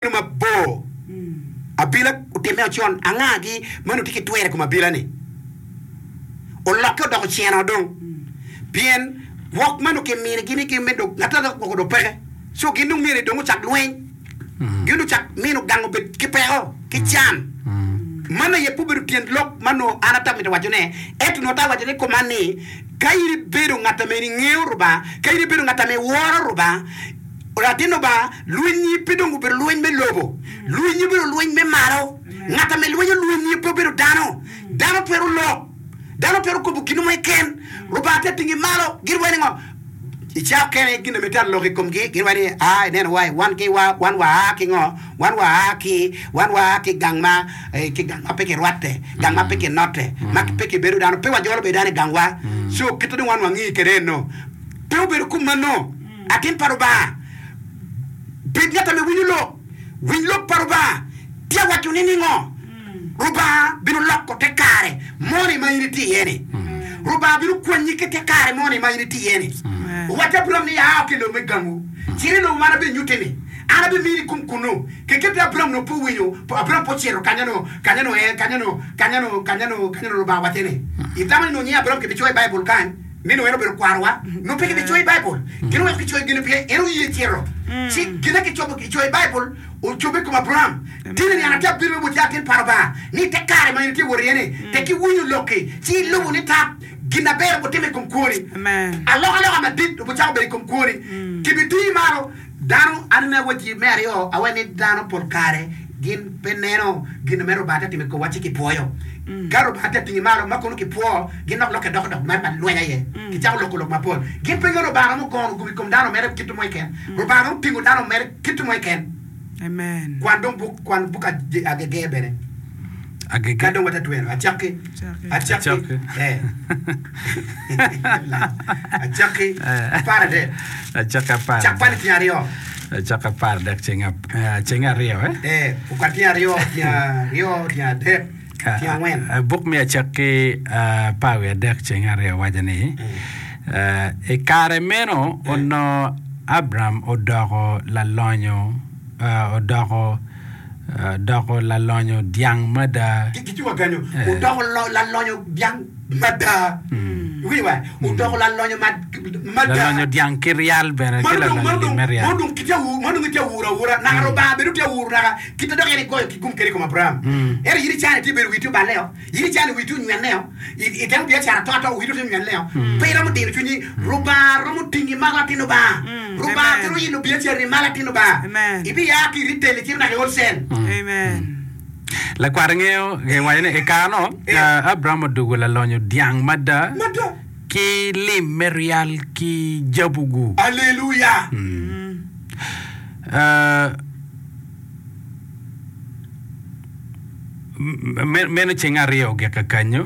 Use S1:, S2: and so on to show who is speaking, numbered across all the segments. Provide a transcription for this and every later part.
S1: Bedo mabor. Abila otimme ocon, angagi ma onongo tye ki twero i kom abila-ni? Olokke odoko ceno dong, pien gwok ma onongo kiminigi ni gin me dong ngat ma gwoko dong peke. Co gin dong myero dong ocak lweny, gin dong ocak mino gang obed ki peko, ki can. Man aye pe obedo tyen lok ma onongo an ata mito wacone, ento onongo ata waco ni kuman ni, ka in ibedo ngat ame ingeyo Rubanga, ka in ibedo ngat ame iworo Rubanga, Latin Lubanga, lwenyi pe dong obedo lweny me lobo. Lwenyi obedo lweny me malo. Ngat ame lwenyo lwenyi pe obedo dano. Dano twero lok. Dano twero kobo gin mo keken. Lubanga tye atingi malo. Gin waco ni ngo? I cawa okene gin ame tye alok i komgi, gin waco ni, Aa, ineno wa, wan ki wa, wan wa aa ki ngo? Wan wa aa ki, wan wa aa ki gang ma, ki gang ma pe kirwatte, gang ma pe kinotte, ma pe kibedo dano. Pe wajolo bedo dano i gangwa. Co kite dong wan wangi kwede eno. Pe obedo kumano. Atin pa Lubanga, bed ngat ame winyo lok. Winy lok pa Lubanga. Tye awaco ni ningo? Lubanga bino loko te kare moni ma in itye iye-ni. Lubanga bino kwanyi ki te kare moni ma in itye iye-ni. Owacci Abram ni, A ki i lobo me gangwu, cit i lobo ma an abinyutti-ni. An abimini gum kunnu. Keketi Abram nongo pe owinyo, Abram pe ocito kanya-nu, kanya-nu, ee, kanya-nu, kanya-nu, kanya-nu, kanya-nu Lubanga owacce ni. Itamo ni nongo nying Abram kibicoyo i Baibul kany? Ni nongo en obedo kwarowa, nongo pe kibicoyo i Baibul. Gin oweko kicoyo gin-ni pien en oye cito. Ci gin kicobo kicoyo i Baibul ocobbe i kom Abraim. Tye ni an atye abino me wot ki atin pa Lubanga ni i te kare ma in itye wot iye-ni, tek iwinyo lokki ci ilubo ni tap gin aber obitimo i kom kwoni. Alokaloka madit obicako bedo i kom kwoni. Kibitiyi malo. Dano, an me awacci me aryo, awaco ni dano pol kare gin pe neno gin me Rubanga tye ka timo i komwa ci gipwoyo. Ka Rubanga tye ka tingi malo ma kono kipwo, gin dok lokke doko dok mere ma lweny aye. Kicako loko lok mapol. Gin pe ngeyo ni Rubanga romo gono gum i kom dano mere kit mo keken. Rubanga romo tingo dano mere kit mo keken. Kwan dong buk, kwan buk Agege bene.
S2: Agege.
S1: Ka dong watye twero. Acakki. Acakki.
S2: Acakki.
S1: Eh. Acakki 13.
S2: Acakki apar
S1: Cak kwan i tyeng aryo.
S2: Acakki 13 ceng ap- eh, ceng aryo eh.
S1: Eh, okwan tyeng aryo, tyeng aryo, tyeng adek, tyeng angwen.
S2: Eh, Buk me Acakki eh, apar wiye adek ceng aryo waco ni, eh, i kare meno onongo Abram odoko lalonyo, eh, odoko Odoko lalonyo dyang mada.
S1: Gitye wa kenyo. Odoko lalonyo dyang mada. Iwinyo ba? Odoko lalonyo mada.
S2: Lalonyo dyang ki ryal bene, ki lalonyo lim me ryal.
S1: Ma dong gitye auro aura, naka Lubanga bene tye auro naka kite dok en egoyo ki gum kede i kom Abraim. Ento in icane tye bedo wii tye oballe-o. In icano wii tye onywenne-o, itemo biacara ato ato wii tye onywenne-o, pe iromo dino cwinyi. Rubanga romo tingi malo atin Lubanga. Rubanga twero ilo biacarani malo atin Lubanga. Ibia ki i retail icito naka i wholesale.
S2: Lakwat ngeyo giwaco ni i kare-nu Abraim odwogo lalonyo dyang mada ki lim me ryal ki jabu-gu.
S1: Aleluya!
S2: Meno ceng aryo ogik kakanyo.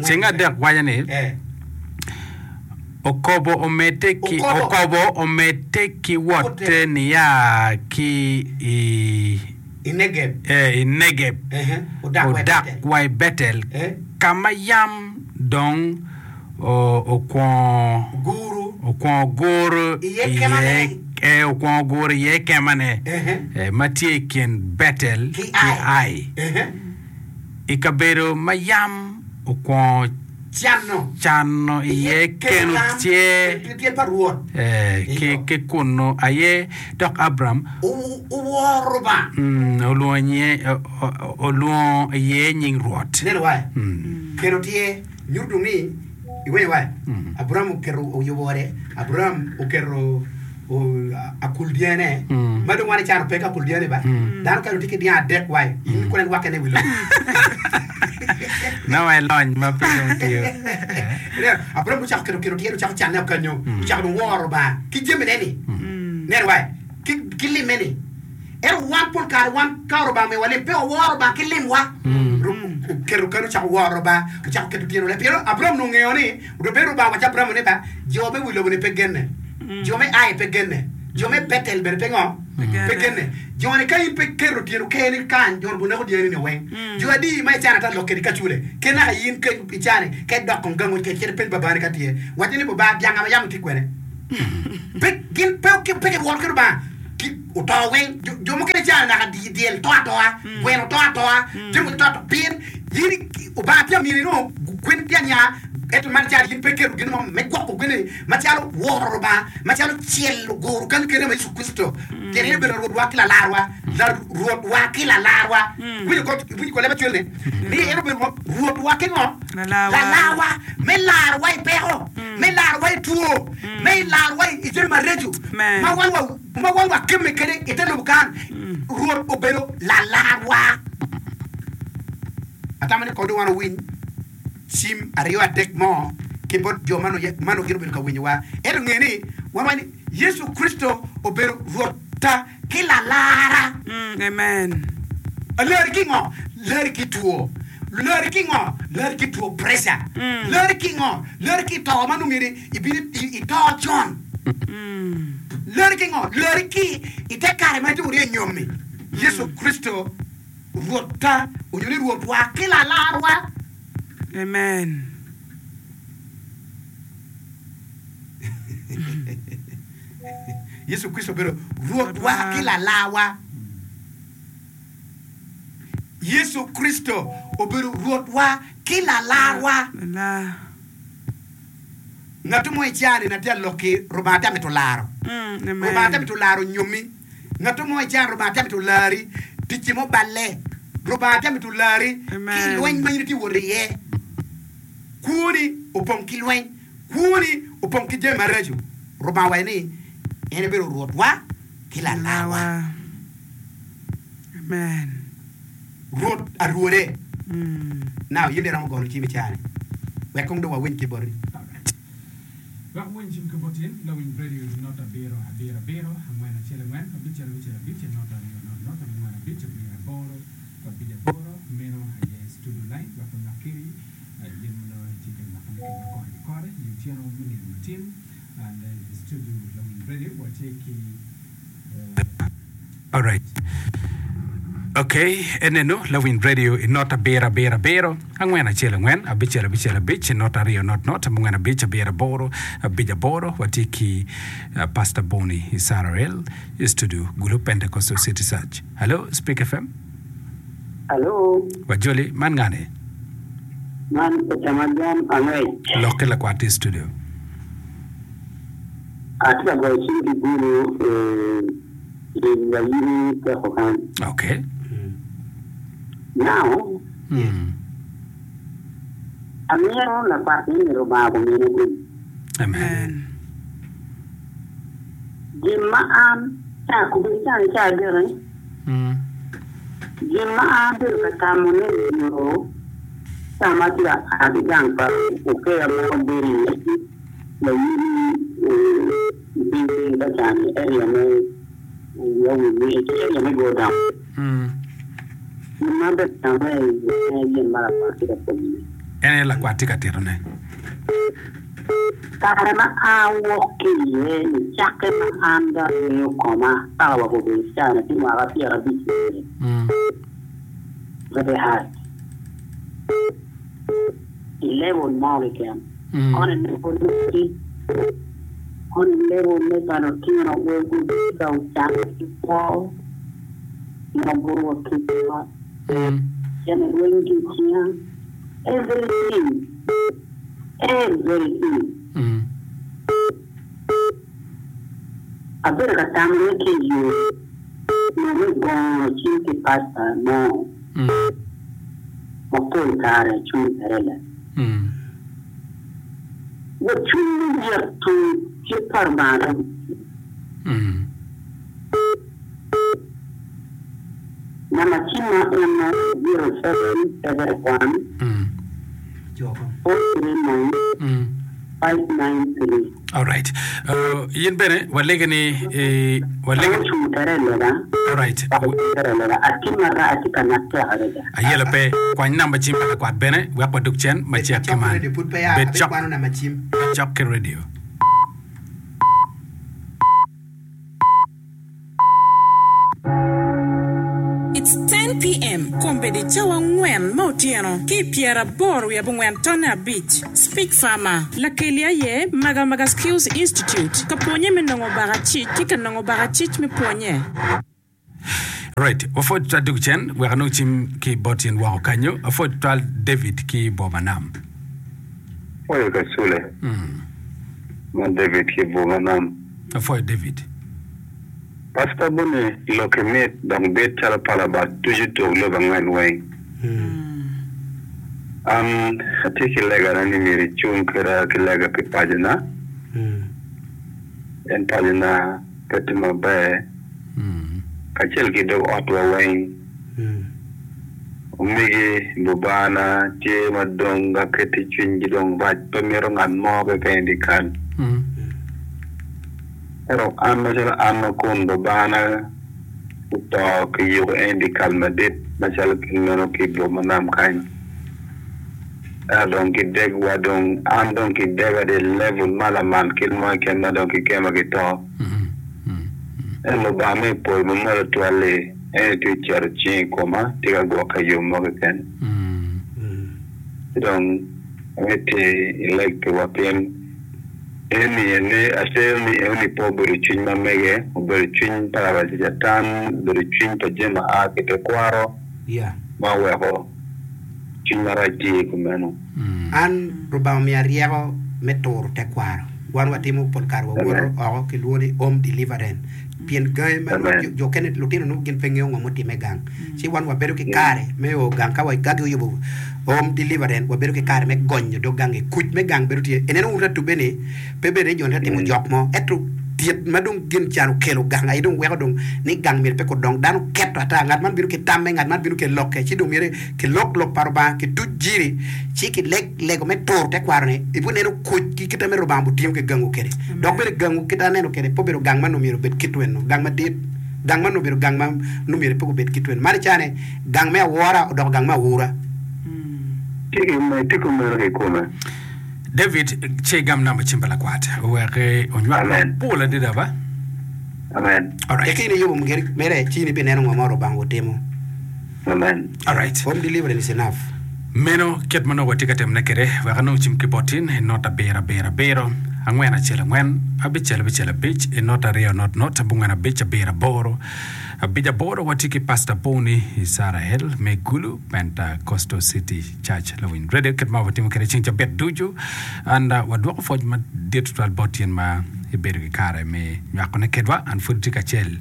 S2: Ceng adek waco ni, Okobo omedde ki okobo omedde ki wotte nia ki i i Negeb odak wa i Betel, ka ma yam dong okwongo guro iye kemane ma tye i kin Betel ki Ai, i kabedo ma yam okwongo cano iye keno tyer ki kunnu aye. Dok Abram olwongo iye nying Rwot.
S1: Nyuto dong ni iwinyo wa, Abraim oketo oyubo ode, Abraim oketo akul dyane, ma dong wan icano pe ki akul dyane ba, dano kany tye ki dyang adek wa, in kono en wakke ne i wi lobo.
S2: Nongo elony ma pe dong tiyo.
S1: Ineno, Abraim ocako keto keno tyer, ocako canne okanyo, ocako dong woro Lubanga ki jamine ni, neno wa, ki limme ni. Ento wan pol kare wan ka Lubanga omiyowa lim, pe waworo Lubanga ki limwa. Oketo keno ocako woro Lubanga, ocako keto tyene oleb. Pien Abraim onongo ngeyo ni, bene Lubanga owaco Abraim ni ba, jo me wi lobo-ni pe genne, jo me Ai pe genne, jo me Betel bene pe ngo? Pe genne. Jo-ni ka in pe iketo tyeno keni kany, jo-ni guneko dyani-ni weng. Jo adi ma icano ata lok kedi ka cule? Ki naka in ka icani, ka idok kong gangi kec, cit ipeny babani ka tye. Wacce ni, Baba, dyanga ma yam itye kwene? Pe, gin pe, pe giworo ki Lubanga. Ki oto weng, jo, jo mukene calo naka dyel to atoa, gweno to atoa, jami mogo to atoa, pien in Obanga tye ka mini nongo gwen tye anya, ento man calo in pe iketo gin mo me gwoko gweni macalo woro Lubanga, macalo celo goro kanyo kene ma Yecu Kricito, pien en obedo Larwotwa ki Lalarwa, Larwotwa ki Lalarwa. Iwinjo ko, iwinjo ko leb acwel-ni? Ni en obedo Rwotwa ki ngo? Lalarwa, me larowa i peko. me larowa i two, me larowa i jami maraco ma wan ma wan wakemme kwede i te lobo kan. Rwot obedo lalarwa. Atamo ni kong dong wan owiny cim aryo adek mo ki bot jo ma nongo gin obedo ka winyowa. Ento nge ni wan wawaco ni Yecu Kricito obedo Rwotta. ki lalara.
S3: Amen.
S1: Lari ki ngo? Lari ki two. Lari ki ngo? Lari ki two pressure. Lari ki ngo? Lari ki to ma nongo myero ibin ito con. Lari ki ngo? Lari ki i te kare ma itye wunu i nyommi. Yecu Kricito Rwotta onyo ni Rwotwa ki lalarwa.
S3: Amen.
S1: Yecu Kricito obedo Rwotwa ki Lalarwa. Yecu Kricito obedo Rwotwa ki Lalarwa. Ngat mo i caa-ni na tye alok-ki, Rubanga tye mito laro. Rubanga tye mito laro nyommi. Ngat mo i caa-ni Rubanga tye mito lari, ticci mo balle. Rubanga tye mito lari ki i lweny ma in itye wot iye. Kwoni opong ki lweny. Kwoni opong ki jami maraco. Rubanga owaco ni en ebedo Rwotwa ki Lalarwa.
S3: Amen.
S1: Rwot arwode. Now, in dong iromo gono cim i caa-ni. Wek kong dong wawiny ki boti.
S4: Alright. Wek wawiny cim ki boti, lawiny radio not abiro abiro abiro angwen acel angwen abicel abicel abic not aryo not not abongwen abic abiro aboro abic aboro meno aye studio line wek onywak kedi. Gin ma nongo itye ka nywakone kwedwa kore ki kore i otyeno me nino matin. And i studio lawiny radio watye ki
S2: Alright. Okay, enenu lawiny radio i not abiro abiro abiro angwen acel angwen abicel abicel abic not aryo not not abongwen abic abiro aboro abic aboro watye ki uh, Pastor Bonnie Isarael i studio Gulu Pentecostal City Church. Hello, Speak FM.
S5: Alo.
S2: Wajoli, man ngani?
S5: Man Ocama John Angec.
S2: Lok ki lakwat i studio.
S5: Atye ka goyo cim ki Gulu i Layini Teko kany.
S2: Okay.
S5: Now, amito lakwat ni Lubanga gumine gum.
S2: Amen.
S5: Gin ma an ca kobedo cani ca adeki. Gin ma an abedo ka tamo ne nyo ca ma atye ka a ki gang pa okeya ma wabedo iye layidi i piny piny ka cani area me area me go down. Gin ma abedo ka tamo ne aye gin ma lakwat tye ka pwonyo ne.
S2: En aye lakwat tye ka tito ne.
S5: Kare ma awok ki iye nicakke ma an dong angeyo koma paka wa obedo caa-ni tye mwaka pyerabic ki wiye, very hard i level mo keken, kono i level me tic, kono i level me pa lutino wego tye ka ocanne ki kwo, ma buto wa ki ot, cente rweny ki i cinga, everything. Everything. Abedo ka tamo ni ki i yo nyo me gongo cing ki pasta mo ma pol kare cung perela. Wa cwiny me yeto cik pa Lubanga dong tye. Namba cimma eno 0771 439 593.
S2: Alright. Uh, in bene walege ni eh, walege ni
S5: Ocung tere i lega.
S2: Alright.
S5: Dok ocung tere i lega. Atye marac, atye ka natek adada.
S2: Ayelo pe. Kwany namba cim pa lakwat bene wek wadug cen
S1: Bed
S2: macek ki
S1: cok ki
S2: man.
S1: radio pud peya
S2: Bed cok,
S1: abikwano namba cim.
S2: bed cok ki radio.
S6: It's 10 PM, Kombeddi cawa angwen me otyeno ki i pyeraboro wiye abongwen tonne abic. Speak Farmer, Lakeli aye Maga Maga Skills Institute, ka pwonye me nongo bakacic ki ka nongo bakacic me pwonye.
S2: Right, wapwod tutwal dwogo cen wek anong cim ki bot in woko kanyo. Apwod tutwal David ki Boma Nam.
S7: Apwoyo Kacule man David ki Boma Nam.
S2: Apwoyo David.
S7: Pastor Boni loki mit dok bit calo pala bat ducu tuk lobo angwen weng. An atye ki legana ni myero icung kweda ki lega pi pacona pien pacona pe tye maber kacel ki dog otwa weng. Omegi lubana tye ma dong gaketi cwinygi dong rac pe mito ngat mo keken i dyekal. Ento an macalo an ma kun babana oto kiyuko en i dyekal madit macalo kit meno ki i boma nam kany, ento dong kidegwa dong an dong kidega dong i level ma lamal kit mo keken ma dong kikema ki to. Ento Lubanga me i polo ma malo twal-li en aye tye ka ceto cinge i koma, tye ka gwoka i yo mo keken. Ci dong amiti ileg piwa pien Eni ene acel ni enoni pe obedo cwiny ma mege, obedo cwiny pa Lacatan, obedo cwiny pa jami ma a ki i tekwaro ma oweko cwiny marac tye i kumeno.
S1: An Rubanga omiya ryeko me turo tekwaro. Wan watimo pol kare wawoto oko kilwongo ni home deliverance pien gangi ma nongo jo okene lutino nongo gin pe ngeyo ngo mutimme gang ci wan wabedo ki kare me o gang ka ka giyubo home deliverance wabedo ki kare me gonyo dog gangi kuc me gang bedo tye ineno wun atubbe ni pe bedo ni joni tye ka timo jok mo ento tyet ma dong gin can okelo gang aye dong weko dong ni gang myero pe kudong dano keto ata ngat man bino ki tamme ngat man bino ki lokke ci dong myero kilok lok pa Rubanga kituc jiri ci kileg lego me turo tekwaro-ni, ibineno kuc ki kite me Rubanga otingo ki gangu kwede. Dok bene gangu kit aneno kwede pe obedo gang ma nongo myero obed kit weno, gang madit. Gang man obedo gang ma nongo myero pe obed kit weno. Man icane, gang me awora odoko gang me awura.
S7: Tye kumeno kikome.
S2: David, ci igam namba cim pa lakwat wek onywak mapol adada ba.
S7: Amen.
S2: Alright.
S1: Eka in iyubo mere, ci in ibineno ngo ma Rubanga otimo.
S7: Amen.
S2: Alright.
S1: Home deliverance is enough.
S2: Meno kit ma nongo watye ka timone kwede. Wek anong cim ki bot in i not abiro abiro abiro, angwen acel angwen, abicel abicel abic, i not aryo not not, abongwen abic abiro aboro, abic aboro. Watye ki Pastor Boni Icrael me Gulu Pentecostal City Church Lawiny Radio kit ma watimo kwede ceng cabit ducu. And uh, wadwoko pwoc madit tutwal bot in ma ibedo ki kare me nywakone kedwa. An pud tye kacel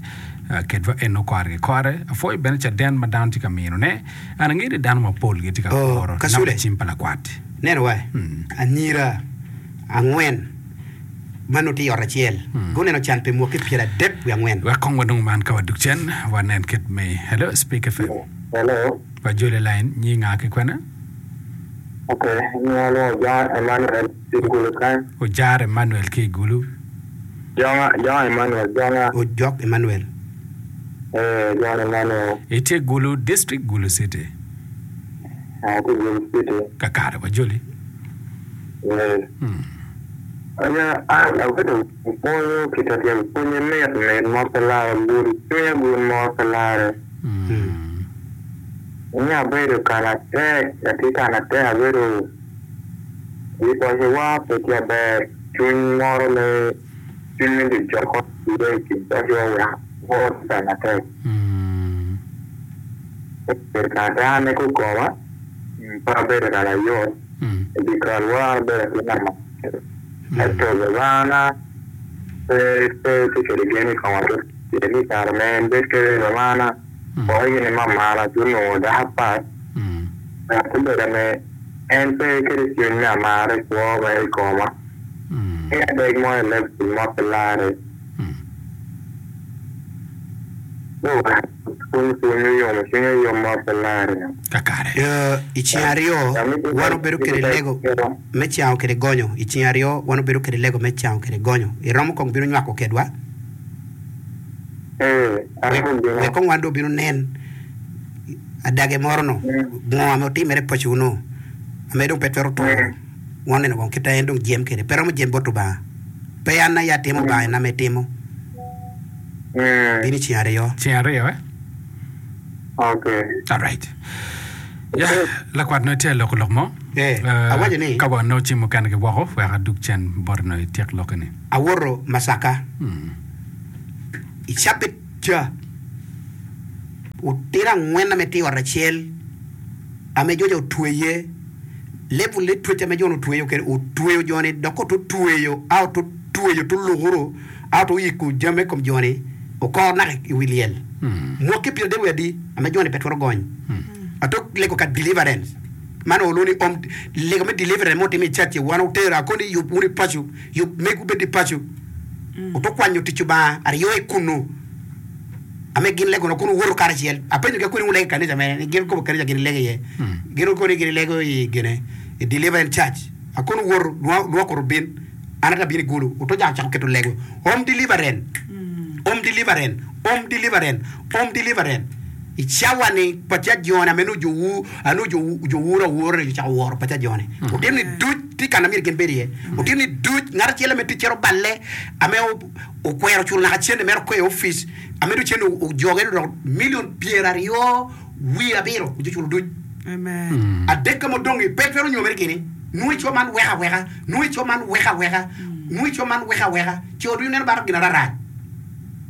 S2: Kedwa eno kore ki kore. Apwoyo bene caden ma dano tye ka minone. An angeyo ni dano mapol gitye ka kuro namba cim pa lakwat.
S1: Neno wa, anyira angwen ma nongo tye i ot acel guneno can pi mwaki pyeradek wiye angwen.
S2: Wek kong wanong man ka wadug cen, wanen kit me. Hello, Speak FM.
S7: Hello.
S2: Wajoli line, nyi nga ki kwene?
S7: Ok, nyinga lwongo John Emmanuel ki Gulu kany.
S2: Ojar Emmanuel ki i Gulu.
S7: Jonga, Jonga Emmanuel, Jonga.
S1: Ojok Emmanuel.
S7: Ee, John Emmanuel.
S2: Itye Gulu District, Gulu City.
S7: Atye Gulu City.
S2: Kakare wajoli.
S7: Ee. Aya, an abedo pwonyo kita tyen pwonye mit mit mo pe lare, gudo cwinya gud mo pe lare. Nya abedo kanatek, atye kanatek abedo i pacowa pe tye aber. Cwiny moro me cwiny me jojoko tye i kin pacowa wek akwo ki kare matek. Bedo kare an aye kukoma, pe abedo ka layot i dyekalwa an abedo atir ngat ma ento babana pe pe tye kwede gen i koma pien ni i kare ma en bedo kwede babana woko gin ni mamana ci onongo dako apat wek obedo ame En pe kede cwiny me amara i kwo ma i koma. Ki adek mo i leb piny mo pe larre. Pwony pwony oyomo cwinya yom mo pe larre.
S2: Kakare.
S1: I ceng aryo, wan obedo kede lego me cango kede gonyo. I ceng aryo, wan obedo kede lego me cango kede gonyo. Iromo kong bino nywako kedwa?
S7: Ee, aromo bino.
S1: Wek kong wan dong obin onen. Adage moro no, ngo ame otimere paco no, ame dong pe twero turo, wan oneno kong kit a en dong jem kede, pe romo jem bot Lubanga. Pe an aye atimo, Lubanga en ame timo. Bino i ceng aryo.
S2: Ceng aryo eh?
S7: Ok.
S2: Alright. Ya, lakwat nongo itye ka loko lok mo.
S1: Eh,
S2: Eh,
S1: awaco ni-
S2: Ka wa nongo cim mukene ki woko, wek adug cen boti nongo ityek lokke ni.
S1: Awoto Masaka i cabit ca otino angwen ame tye i ot acel ame joca otweye level me twec ame jo-ni otweyo kwede otweyo jo-ni dok ka otweyo a otweyo tulukuru a oyiko jami i kom jo-ni okor naka i wi lyel mwaki pyerade wiye adi ame jo-ni pe twero gony atok lego ka deliverance man olwongo ni om lego me deliverance ma otimo i cac-ci wan otero akoni yub wunu i paco yub megu bed i paco oto kwanyo tic Lubanga aryo i kunu ame gin lego kun wuwoto karacel. Apenyogi akoni wulego i kanisa mene? Ni gin kobo kanisa gin gilego iye. Gin okoni gin gilego i gine i Deliverance Church. Akoni wuwoto lwak oto bin an ata abino i Gulu oto cako cako keto lego Home Deliverance Home Deliverance Home Deliverance Home Deliverance I cawa ni paca joni ame nongo jo nongo jo wuro awura ni ocako woro paca joni. Otito ni duc tye kana myero gin bed iye. Otito ni duc ngat acel ame ticce oballe ame okwero culo naka cente mere oko i opic ame dong cente ojoge dong milion pyeraryo wiye abiro oco culo duc. Adek ma odong-ngi pe twero nyomere gini. Nongo ico man weko aweka, nongo ico man weko aweka, nongo ico man weko aweka, co ducu neno balo gin ararac.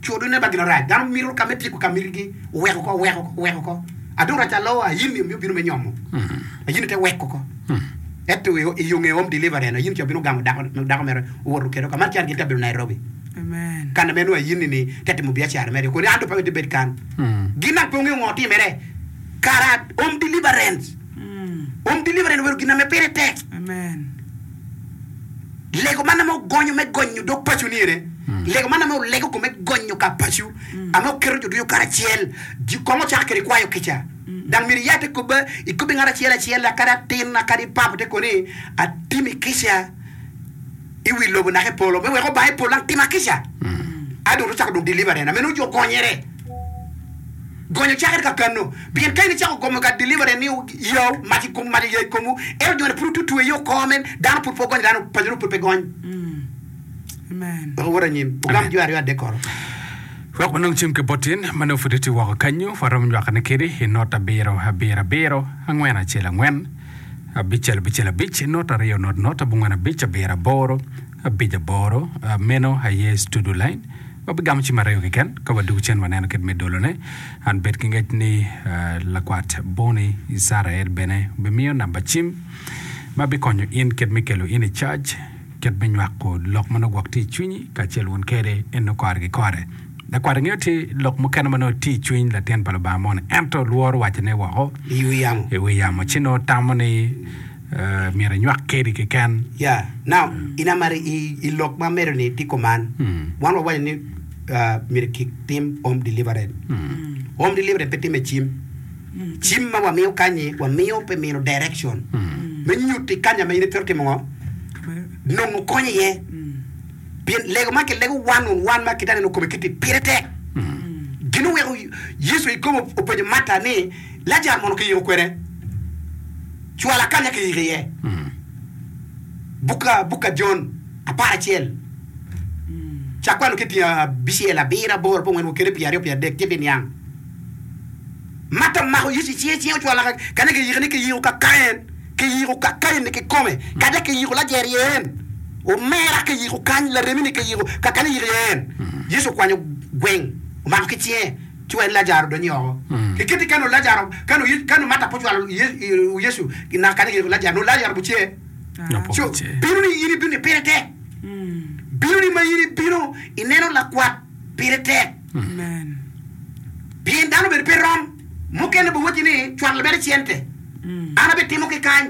S1: Co ducu neno balo gin ararac. Dano mito ka me tyeko ka mitigi, oweko oko, oweko oko, oweko oko. Adong rac alo ayini omiyo obino me nyomo. Ayini te weko oko. Ento i yo nge home delivery-ni, ayini ca obino ogamo dako mere owoto kwede oko. Man can gin te bedo Nairobi. Kan ma nongo ayini-ni te timo biacara mere. Koni an dong pe amito ibed kan. Gin naka pe ongeyo ngo otimere. Kara home deliverance. Home deliverance obedo gin ma pire tek. Lego man ame ogonyo me gonyo dog paco ni ene. Lego man ame olego ko me gonyo ka paco. Ame oketo jo ducu karacel. Ji kong ocako kede kwayo kica. Dang myero iya te kobbe ikobbe ngat acel acel kadi atin kadi papa te koni atimi kica i wi lobo naka i polo me wek Obanga i polo dang tima kica. A dong ocako dong deliverance ame nongo jo gonyere. Gonyo cakere ka kano pien ka in icako gomo ka deliverance ni yao mac i kom mac oya i komwu ento joni pud otutwe i oko men dano pud pe ogonyo dano paco dong pud pe gony.
S3: Amen.
S1: Wek owot anyim ogam jo aryo adek koro.
S2: Wek wanong cim ki bot in ma nongo pud itye woko kenyo, waromo nywakone kedi i not abiro abiro abiro angwen acel angwen abicel abicel abic not aryo not not abongwen abic abiro aboro abic aboro. Meno aye studio line. Wabigamo cim aryo keken ka wadwogo cen waneno kit me dolone. An bed ki ngec ni lakwat Boni Icrael bene obimiyo namba cim ma bikonyo in kit me kelo in i cac. Kit me nywako lok ma nongo gwok tye i cwinyi kacel wun kede en nongo kore ki kore. Lakwat ingeyo tye lok mukene ma nongo tye i cwiny latin pa Lubanga moni ento lworo wacone woko
S1: I wi yamo.
S2: i wi yamo ci nongo tamo ni eh, myero enywak kedi keken.
S1: Yeah. Now, in amaro i, i lok ma amedo ni tye kuman. Wan wawaco ni uh, myero kitim home deliverance. Home deliverance pe time cim. Cim ma wamiyo kany-nyi, wamiyo pi mino direction me nyutti kanya ma in itwero timo ngo? Nongo kony iye. Pien lego ma kilego one on one ma kitye ka neno kome kiti pire tek. Gin oweko Yecu i kome openyo Marta ni, Lajaro mono kiyiko kwene? Cwala kanya kiyiko iye. Buk buk pa Jon aparacel cak kwano ki tyen abicel, abiro, aboro, abongwen, wa kede pyeraryo, pyeradek ci ibiniang. Marta omako Yecu i cinge, cinge ocwalo kanya kiyiko ni kiyiko ka Kain, kiyiko ka Kain-ni kikome, kadi kiyiko Lajaro iye en, omera kiyiko kany, laremi-ni kiyiko ka kany iyiko iye en. Yecu okwanyo gweng, omako ki cinge, ci wek Lajaro odony oko. Kiketi ka nongo Lajaro, ka nongo Yecu, ka nongo Marta pe ocwalo Yecu naka kanya kiyiko Lajaro, nongo Lajaro obicer. Co, bino ni in ibino ni pire tek. Bino ni ma in ibino ineno lakwat pire tek. Pien dano bene pe rom. Mukene biwacci ni, 'Cwal mere cente, an abitimo ki kany.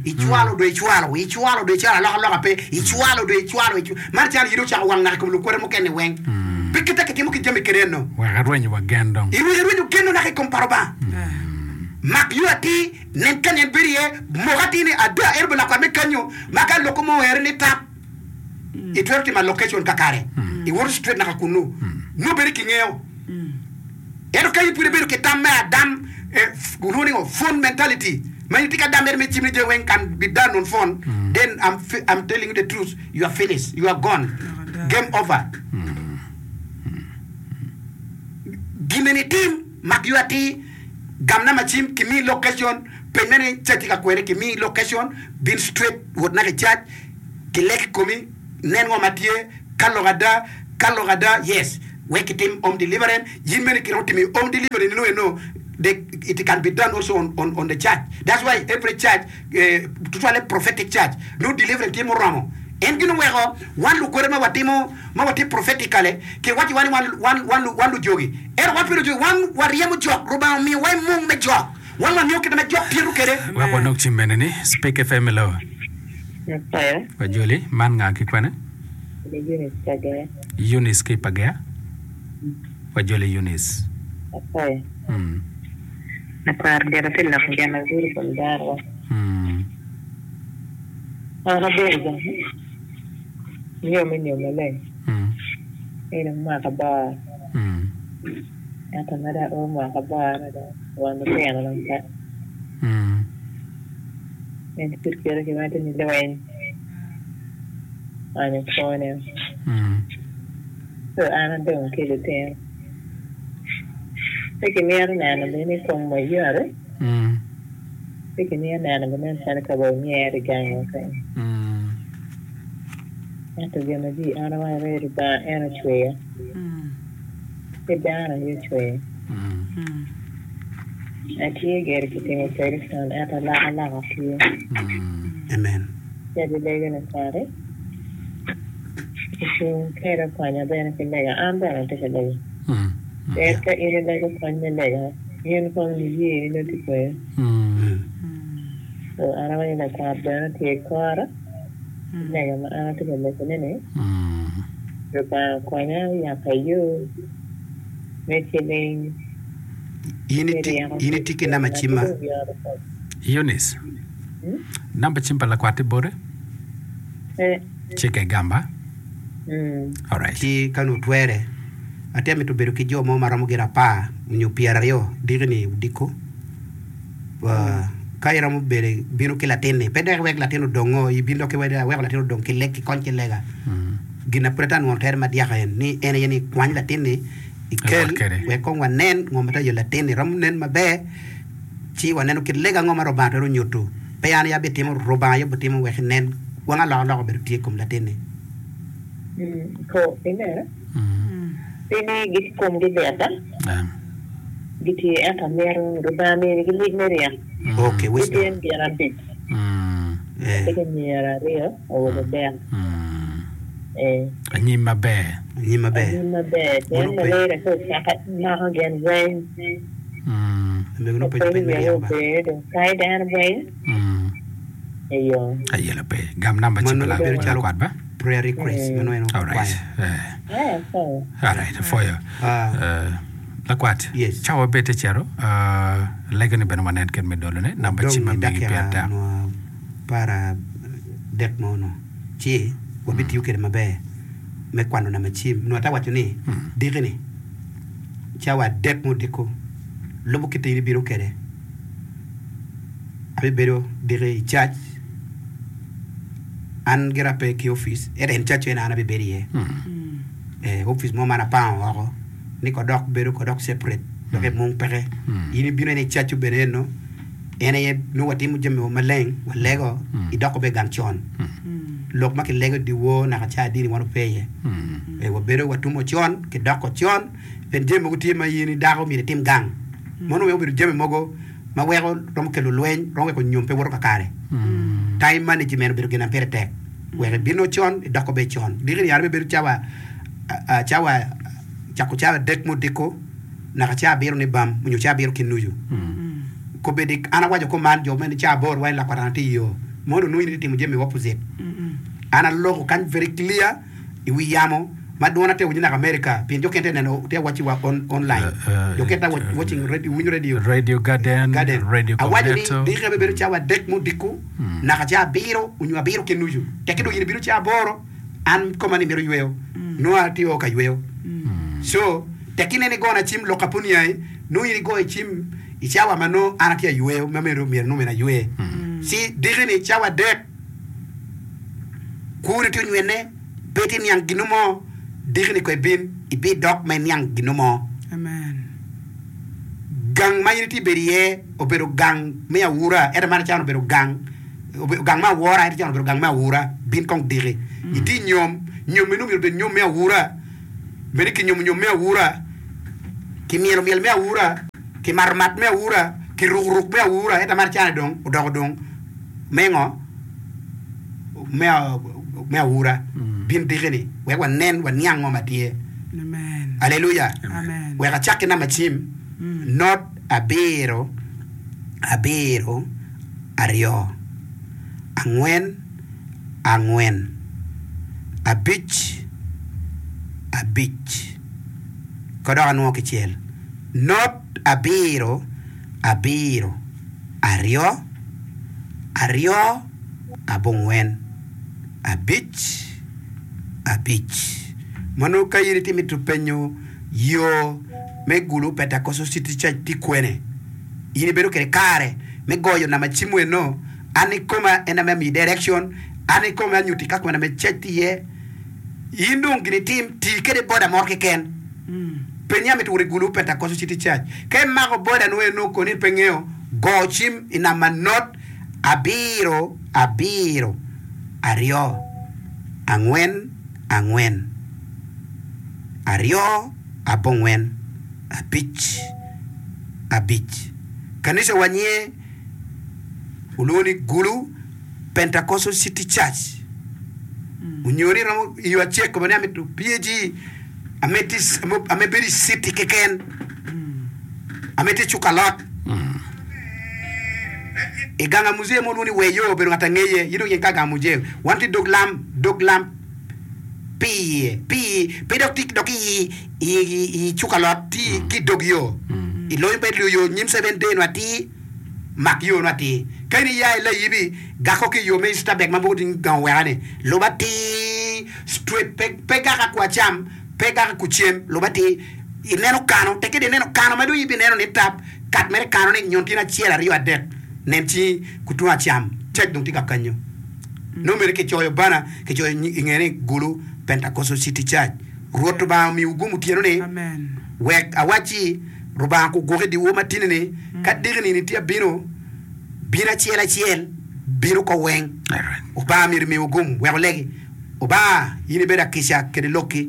S1: Icwalo dong icwalo, icwalo dong icwalo, alokaloka pe, icwalo dong icwalo, man calo in ocako wang naka i kom lukwota mukene weng. Pe kite kitimo ki jami kede eno.
S2: Wek arwenyo wa gen dong.
S1: Wek irwenyo genno naka i kom pa Lubanga. Mak yo atir, nen kany en bedo iye, mok atir ni ada en obedo lakwat me kanyo ma ka loko mo oere ni tap. Itwero timo allocation kakare, iwoto straight naka kunnu, nongo bedo kingeyo. Ento ka in pud ibedo ki tam me adam, olwongo ni ngo, phone mentality, ma in itye ki adam mere me cim ni jami weng can be done on phone, then I'm, I'm telling you the truth, you are finished, you are gone, game over. Gin eni itim. mak yo atir, gam namba cim, kimi location, peny mere ni cac tye ka kwene, kimi location, bin straight wot naka i cac, kileg i komi, nen ngo ma tye, ka lok ada, ka lok ada, yes, wek kitim home deliverance, yin bene kiromo timo i home delivery nino eno, the, it can be done also on, on, on the church, that's why every church, eh, tutwalle prophetic church, nongo deliverance tye muromo. En gin oweko wan lukwede ma watimo, ma watye prophetically, kiwacciwa ni wan, wan, wan, wan lujogi. Ento wan pe lujogi, wan waryemo jok. Rubanga omiyowa i mung me jok. Wan wangeyo kit ma jok tito kwede.
S2: Wek wanong cim mene ni Speak FM hello.
S8: Nyasaye.
S2: Wajoli, man nga ki kwene?
S8: Ni Eunice Kagea.
S2: Eunice ki Pagea. Wajoli Eunice.
S8: Nyasaye.
S2: Mm.
S8: Lakwar gire pi lok gin ma gudo kom dano wa.
S2: Mm.
S8: An abedo gang nyo me nyom maleng
S2: Mm.
S8: eno mwaka aboro.
S2: Mm.
S8: Ento ma dong ao mwaka aboro dong won lutino dong pe.
S2: Mm.
S8: En pud kite ki waco ni lweny onyo kwone.
S2: Mm.
S8: So an adong ki lutino. Pe kimito neno bene ni kom wa yot,
S2: Mm.
S8: pe kimito neno bene nen calo ka wa onyero i gangwa kany.
S2: Mm.
S8: Ento gin ma jwi an awaco ni Lubanga en ocweya, pe dano aye ocweya.
S2: Mm.
S8: Atye gire ki timo opereson ento alokaloka tye.
S2: Mm.
S1: Amen.
S8: Ci abilego lakwati ocung kede okonya bene ki lega. An bene atye ka lega.
S2: Mm.
S8: Pien ka in ilego kony me lega, in kong niyeni nongo tye kwede.
S2: Mm.
S8: So an awaco ni lakwat bene tye i kora ki lega ma an atye ka legone-ni.
S2: Mm.
S8: Lubanga okonya oyabba yo me ciling
S1: In
S8: me
S1: iti,
S8: ryeko
S1: in
S8: ki
S1: itye ki namba
S8: jami ma
S1: cimma?
S8: pe dong yoto kom.
S2: Eunice,
S8: Hmm?
S2: namba cim pa lakwat-ti boti?
S8: Pe.
S2: Cikke igamba.
S8: Mm.
S2: Alright.
S1: Ci ka nongo twere, atye mito bedo ki jo mo ma romo gin apar nyo pyeraryo diki-ni odiko. Ka iromo bene bino ki latinni, pe dok iwek latin odongo, ibin dok iwek aweko latin odong ki leg ki kony ki lega. Gin na pud atye ka nwono tere madyaka en ni en aye ni kwany latinni ikel
S2: Iwot kwede.
S1: wek kong wanen ngo ma tye ka yelo latinni romo nen maber ci waneno kit lega ango ma Rubanga twero nyuto. Pe an aye abitimo, Rubanga aye obitimo wek inen wang alokaloka obedo tye i kom latinni.
S8: Po ineno? Pe ni gitye komgi lit, gitye, ento amito Lubanga minigi mic me ryeko.
S1: Okay, wisdom.
S8: Gityen gin abic, atye ki anyira aryo, awobe adek. Ee.
S2: Anyim maber.
S1: Anyim maber.
S8: Anyim maber, pien
S1: Mono pe-
S8: malaria ka ocake mako gin weng.
S1: Omego nongo penyo
S8: Apenyo
S1: peny me
S8: wiya
S1: ryeko ba.
S8: obedo ni dong kayo dano weng. Eyo.
S2: Ayelo pe. Gam namba ci
S1: Mano
S2: pa
S1: bedo calo
S2: lakwat ba.
S1: prayer request mano en
S2: Alright.
S1: okwayo.
S2: Eh.
S8: Eh, apwoyo.
S2: Alright, apwoyo.
S1: Ah.
S2: Eh, lakwat.
S1: Yes.
S2: Cawa bed te cito. Uh, lego ni bene wanen kit me dolone. Namba
S1: Dong
S2: cim
S1: i
S2: ma megi pire
S1: dakika
S2: tek.
S1: nwo para dek mo no ci wabitiyo kwede maber me kwano namba cim. Nwo ata waco ni diki ni cawa adek me odiko lubo kit ma in ibino kwede. Abibedo diki i cac, an gira pe ki opic ento en cac eni an abibedo iye. Eh, opic mo ma an apango woko ni ko dok bedo ko dok separate dok i mung peke. In ibino en i cacu bene eno, en aye nongo watimo jami wa maleng, walego, idoko bene gang con. Lok ma kilego i dyewor naka ca adini wan ope iye. Eh, wabedo watumo con, kidoko con, pien jami mogo tye ma in i dako myero itim gang. Mono weko obedo jami mogo ma weko romo kelo lweny, romo weko nyom pe woto kakare. Time management obedo gin ma pire tek wek ibino con idoko bene con. Diki ni an abibedo cawa cawa cako cawa adek me odiko naka cawa abiro ni bam nyo cawa abiro ki nucu. Kobedi an awaco kuman jo meno cawa aboro wai lakwat an atye iyo mono nongo in itye timo jami opposite. An aloko kany very clear. i wi yamo ma dwona te winyo naka America pien jo kene te neno te watching wa on online jo kene te watching radio winyo radio
S2: Radio Garden,
S1: Garden
S2: Radio
S1: awaco ni
S2: Cornetto.
S1: diki abe bedo cawa adek me odiko naka cawa abiro onyo abiro ki nucu tekki dong in ibino cawa aboro an koma ni mito yweyo nongo atye o ka yweyo so tekki ineno igona cim lok ka pe oniangi nongo in igoyo cim i cawa ma nongo an atye ayweyo ma myero nongo myero aywe ci diki ni cawa adek Kwoni tye onywene, pe itye niang gino mo, diki-ni kono ibin, ibidok ma iniang gino mo.
S3: Amen.
S1: Gang ma in itye bedo iye obedo gang me aura, ento man can obedo gang gang me awora, ento can obedo gang me aura. Bin kong diki. Itye i nyom, nyom meno myero obed nyom me aura. Bed ni kinyomo nyom me aura, kimyelo myel me aura, kimato mat me aura, kiruko ruk me aura, ento man can dong odoko dong me ngo? Me, me aura. Bin diki-ni wek wanen, waniang ngo ma tye.
S3: Amen.
S1: Aleluya!
S3: Amen.
S1: Wek acak ki namba cim, not abiro, abiro, aryo, angwen, angwen, abic, abic. Ka dok anwo kicel, not abiro, abiro, aryo, aryo, abongwen, abic, abic. Ma nongo ka in itye mito penyo yo me Gulu Pentecostal City Church tye kwene, in ibedo kwede kare me goyo namba cim eno, an ikoma en ame amiyi direction, an ikome anyuti ka kwena me church tye iye. In dong gin itim, ti kede boda moro keken. Penye amito wot i Gulu Pentecostal City Church. Ka imako boda nongo eno koni in pe ingeyo, go cim i namba not abiro abiro aryo angwen angwen aryo abongwen abic abic. Kanisa wa nyinge olwongo ni Gulu Pentecostal City Church. Onyo ni romo i yo acek kome ni amito PAG ame bedo i city keken ame tye cuk alot. I gang a muzee mo lwongo ni Weyo obedo ngat angeye in dong yen ka gang muzee wan tye dog lam dog lam pi pi pe dok tye dok i i cuk alot tye ki dog yo i lonyo pe yo nyim seven day nu atir mak yo nu atir ka in iya i layibi gako ki yo me Easter bag ma mogo tye gang oweka ni lub atir straight pe pe gaka ku acam pe gaka ku cem lub atir ineno kano tekke dong ineno kano ma dong ibineno ni tap Kat mere kano ni nyon tyen acel aryo adek nen ci kutung acam cac dong tye ka kanyo. Nongo mere kicoyo bana kicoyo i nge ni Gulu Pentecostal City Church. Rwot Rubanga omiwu gum otyeno ni wek awacci Rubanga kugwoki i dyewor matini ni ka diki nini tye abino bino acel acel bino ko weng. Rubanga myero omiwu gum wek olegi. Rubanga in ibedo akica kede lokki.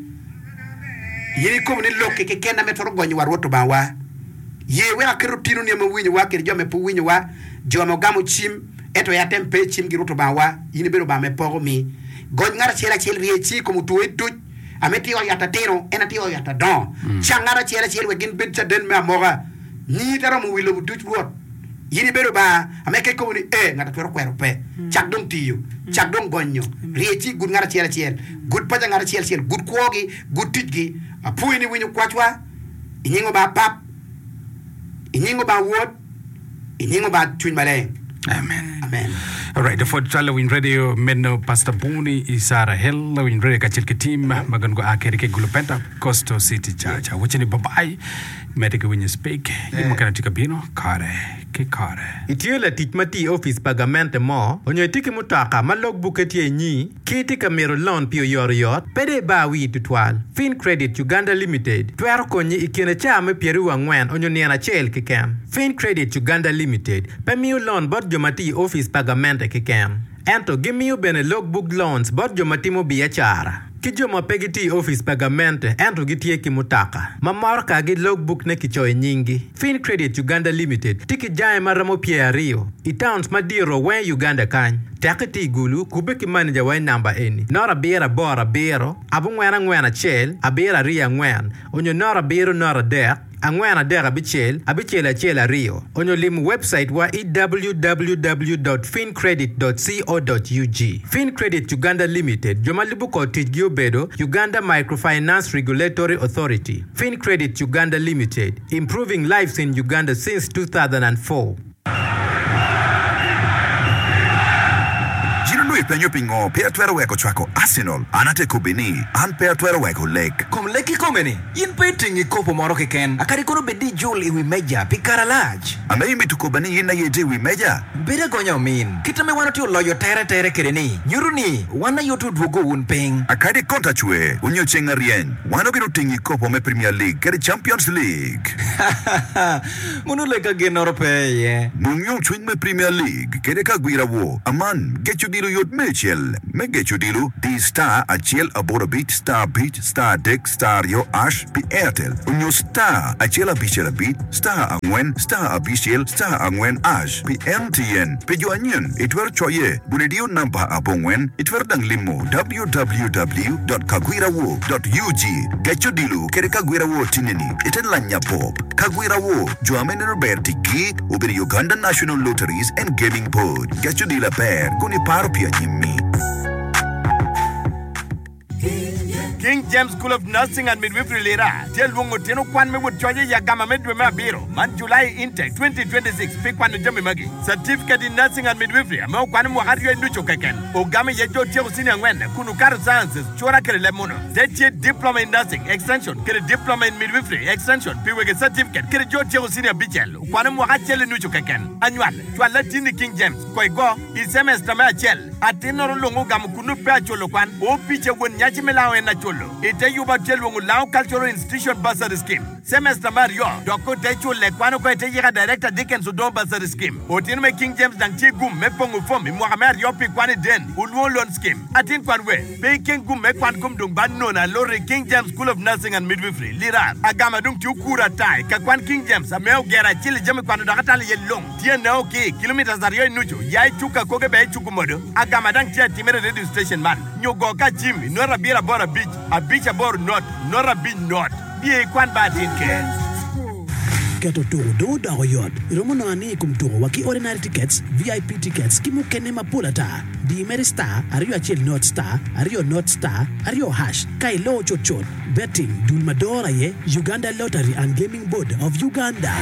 S1: In ikobo ni lokki keken ame twero gonyowa Rwot Rubanga wa. Ye wek aket otinoni ame owinyowa kede jo ame pe owinyowa, jo ame ogamo cim, ento aye atem pe i cimgi Rwot Lubangawa, in ibedo Lubanga me poko mi. Gony ngat acel acel rye cingi i kom otwoyi duc, ame tye i ot yat atino, en aye tye i ot yat adongo. Cang ngat acel acel wek gin bed caden me amoka. Nyingi te romo wi lobo duc, Rwot. In ibedo Lubanga ame ka ikobo ni, Ee, ngat a twero kwero pe. Cak dong tiyo. Cak dong gonyo. Rye cingi gud ngat acel acel, gud paca ngat acel acel, gud kwogi, gud ticgi. Apwoyi ni iwinyo kwacwa. I nying Lubanga Pap, i nying Lubanga Wod, i nying Lubanga Cwiny Maleng.
S2: Amen.
S1: Amen.
S2: Alright, pwod cwalo lawiny radio meno Pastor Boni i Sarah Hill, lawiny radio kacel ki team ma gin gua kede ki Gulu Pentecostal City Church. Awaco ni bye bye, medde ki winyo speak, gin mukene tye ka bino kare ki kare.
S9: Itye latic ma tiyo i opic pa gamente mo, onyo itye ki mutoka ma log bukke tye inyi? Ki itye ka mito lon pi oyotoyot, pe dong ibar wii tutwal. Fincredit Uganda Limited twero konyi i kine caa me pyeraryo angwen onyo nino acel keken. Fincredit Uganda Limited pe miyo lon bot jo ma tiyo i opic pa gamente keken, ento gimiyo bene logbook loans bot jo ma timo biacara ki jo ma pe gitiyo i opic pa gamente ento gitye ki mutoka ma morokagi logbook ne kicoyo nyinggi. Fincredit Uganda Limited tye ki jange ma romo pyeraryo i towns madito weng i Uganda kany. Tek itye i Gulu, kubbe ki maneja wa i namba eni, noto abiro aboro abiro, abongwen angwen acel, abiro aryo angwen, onyo noto abiro noto adek, angwen adek abicel, abicel acel aryo, onyo lim webcait wa i www dot fincredit dot co dot ug. Fincredit Uganda Limited, jo ma lubo kor ticgi obedo, Uganda Microfinance Regulatory Authority, Fincredit Uganda Limited, Improving lives in Uganda since 2004.
S10: Gin onongo. ipenyo pingo pe atwero weko cwako Arsenal, an ate kobbi ni an pe atwero weko lek.
S11: Kom lek kikome-ni, in pe itingi kopo moro keken, akadi kono bed ni ijul i wi meja pi kare alac.
S10: Ame imito koba ni in aye itye i wi meja?
S11: Bed agonya omin. Kit ame wan otye oloyo tere tere kede ni, nyuto ni wan aye otye odwogo wun piny.
S10: Akadi konta cwer onyo ceng aryeny, wan obino tingi kopo me Premier League kede Champions League.
S11: Mono lek ka ginnoro pe iye.
S10: Nong yomcwiny me Premier League kede ka gwira wo. Aman, geco odilo yot me acel. Me geco odilo, di star acel aboro abic star abic star adek star aryo ash pi Airtel onyo star acel abicel abic star angwen star abicel star angwen ash pi MTN. Pi jo anyen, itwero coye bun idiyo namba abongwen. Itwero dang limo www dot kagwirawo dot ug. Geco odilo kede kagwirawo tineni ite lanya pop. Kagwirawo, jo ame neno ber ticgi obedo Uganda National Lotteries and Gaming Board. Geco odilo aber kun iparo pi anyimmi.
S12: King James School of Nursing and Midwifery Lira tye lwongo tino kwan me wot coc i agama me dwe me abiro man, July Intake 2026, pi kwano jami magi, Certificate in Nursing and Midwifery ame okwano mwaka aryo i nucu keken, ogamo iye jo otyeko senior angwen kun okato Sciences, Cura kede leb muno. Te tye Diploma in Nursing, Extension, kede Diploma in Midwifery, Extension, pi wege certificate kede jo otyeko senior abicel okwano mwaka acel i nucu keken. Anywal, cwal latinni i King James, ko igo, i semester me acel. Atinnoro lwongo ogamo kunnu pe aculo kwan. Opica won nyaci me lango en aculo. Ite yuba tye lwongo Lango Cultural Institution Bursary Scheme. Semester me aryo dok ko te cule kwan oko ite yika Director Dickens Odongo Bursary Scheme. Otino me King James dang tye gum me pongo fom i mwaka me aryo pi kwan i den Olwongo Loan Scheme. Atin kwan we pe ikeng gum me kwan kom dong ba nono alot i King James School of Nursing and Midwifery, Lira. Agama dong tye okuro ata i ka kwan King James ame ogero acel i jami kwano dok atalo iye long. Tye neo ki kilometres aryo i nucu ya i cuk akoge bene i cuk omodo. Agama dang tye atimere i radio station man nyo go ka cim i not abiro aboro abic abic aboro not not abic not. Biye ikwan ba atin ker.
S13: Keto tuku dong odoko yot. Iromo nongo ani i kom tuku wa ki ordinary tickets, VIP tickets ki mukene mapol ata. Di mere star aryo acel not star aryo not star aryo hash ka iloo cut cut. Betting, dul ma doro aye Uganda Lottery and Gaming Board of Uganda.